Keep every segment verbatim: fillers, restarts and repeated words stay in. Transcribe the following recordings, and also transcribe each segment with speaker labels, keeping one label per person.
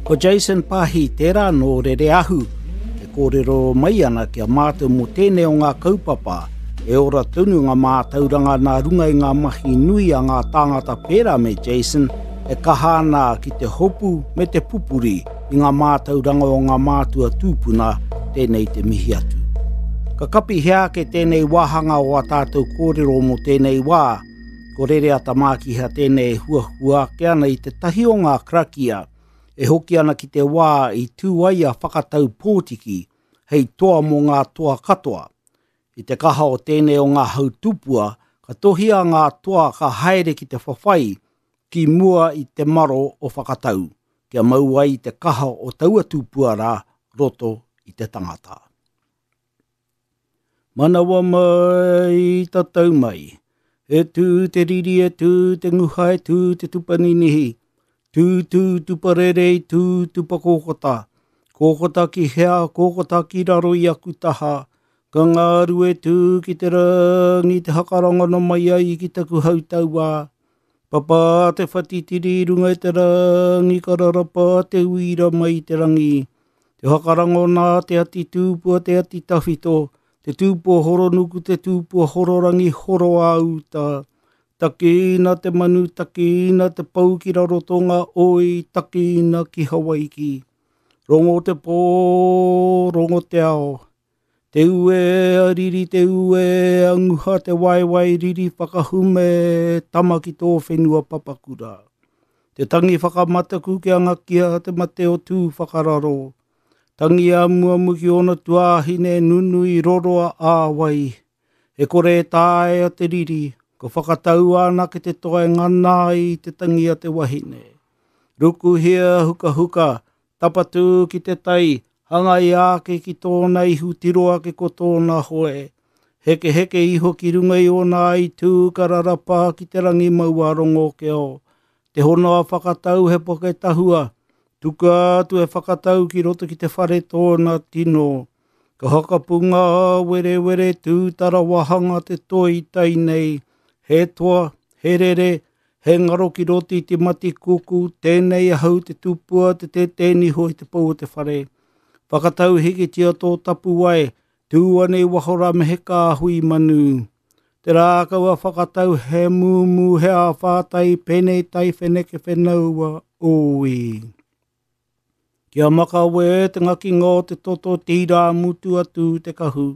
Speaker 1: Ko Jason Pahi tērā nō Rereahu, e kōrero mai ana ki a mātou mō tēnei o ngā kaupapa, e ora tonu ngā mātauranga nā runga i ngā mahi nui a ngā tāngata pērā me Jason, e kaha ana ki te hopu me te pupuri i ngā mātauranga o ngā mātua tūpuna, tēnei te mihi atu. Ka kapi hea ake tēnei wāhanga o a tātou kōrero mō tēnei wā, ko Rereata Mākiha tēnei huahua ake ana i te tahi o ngā karakia, e hoki ana ki te wā i tū ai a Whakatau Pōtiki hei toa mō ngā toa katoa. I te kaha o tēnei o ngā hautupua, ka tohia ngā toa ka haere ki te whawhai ki mua i te maro o Whakatau, kia mau ai te kaha o taua tupua rā roto i te tangata. Manawa mai, tatau mai, e tū te riri, e tū te nguha, e tū te tupaninihi, tū tū tuparere, tū tupakōkota, kōkota ki hea, kōkota ki raro i aku taha, ka ngāru e tū ki te rangi te hakarangana mai ai ki taku hautauā, papa te whatitiri runga i te rangi, ka rarapa te uira mai i te rangi, te hakarangona te ati tūpua te ati tawhito, te tūpua horonuku, te tūpua hororangi horo āuta, takina te manu, takina te pau ki Rarotonga, oi takina ki Hawaiki. Rongo te pō, rongo te ao, te ue a riri, te ue a nguha, te waewae riri whakahume, tama ki tō whenua papakura. Te tangi whakamataku kia ngakia te mate o tū whakararo, tangi a muamu ki ona tuāhine nunui roroa āwai, e kore e taea te riri, ko whakatau ana ke te toa e ngana ai te tangi a te wahine. Rukuhia hukahuka, tapatū ki te tai, hangai ake ki tōna ihu tiro ake ko tōna hoe. Heke heke iho ki runga i ōna aitū ka rarapa ki te rangi maua rongo keo. Te hono a Whakatau he poke tahua, tuka atu e Whakatau ki roto ki te whare tōna tino. Ka hakapunga were were tūtara wahanga te toi tai nei, he toa, he rere, he ngaro ki roto i te mati kuku, tēnei ahau te tupua te tētēniho i te pau o te whare. Whakatau hikitia tō tapuwae, tū ana i waho rā me he kāhui manu. Te rākau a Whakatau he mūmū he āwhātai pēnei tai wheneke whenaua oi. Kia makawe te ngakinga o te toto tīrā mutu atu te kahu.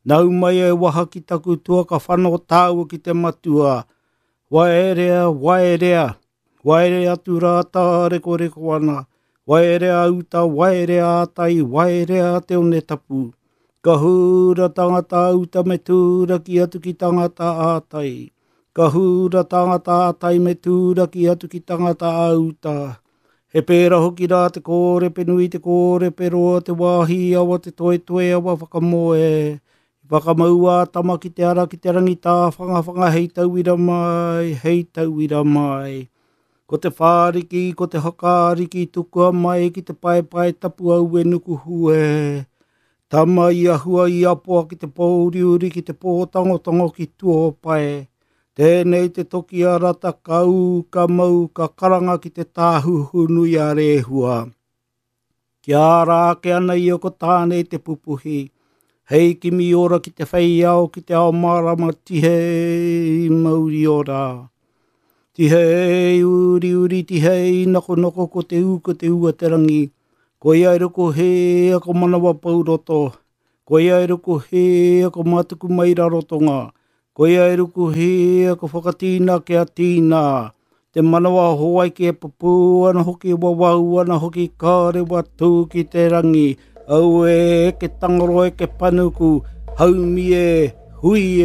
Speaker 1: Nau mai e waha ki taku tua ka whano tāua ki te matua. Waerea, waerea, waerea atu rā tārekoreko ana. Waerea uta, waerea atai, waerea te one tapu. Ka hura tangata uta me tūraki atu ki tangata ātai. Ka hura tangata ātai me tūraki atu ki tangata auta. He pērā hoki rā te kōrepe nui, te kōrepe roa, te wāhi awa, te toetoe awa whakamoe. Whakamaua tama ki te ara ki te rangi tāwhangawhanga hei tauira mai, hei tauira mai. Ko te whāriki, ko te hakaariki, tukua mai ki te paepae tapu au e nuku hue. Tama i ahua i apoa ki te pōuriuri, ki te pōtangotango ki tuopae. Tēnei te toki a rata ka ū, ka mau, ka karanga ki te tāhuhu nui a Rehua. Kia ara ake ana ia ko Tāne te pupuhi, hei kimi ora ki te whei ao, ki te ao mārama tihei mauri ora. Tihei uri uri tihei nokonoko ko te ū ko te ua te rangi, koia e ruku he ako manawa pauroto, koia e ruku he ako matuku mai rarotonga, koia e ruku he ako whakatīna kia tīna, te manawa hoaiki e pupū ana hoki wawau ana hoki kārewa tū ki te rangi, au e ke tangaro e ke panuku, haumi e, hui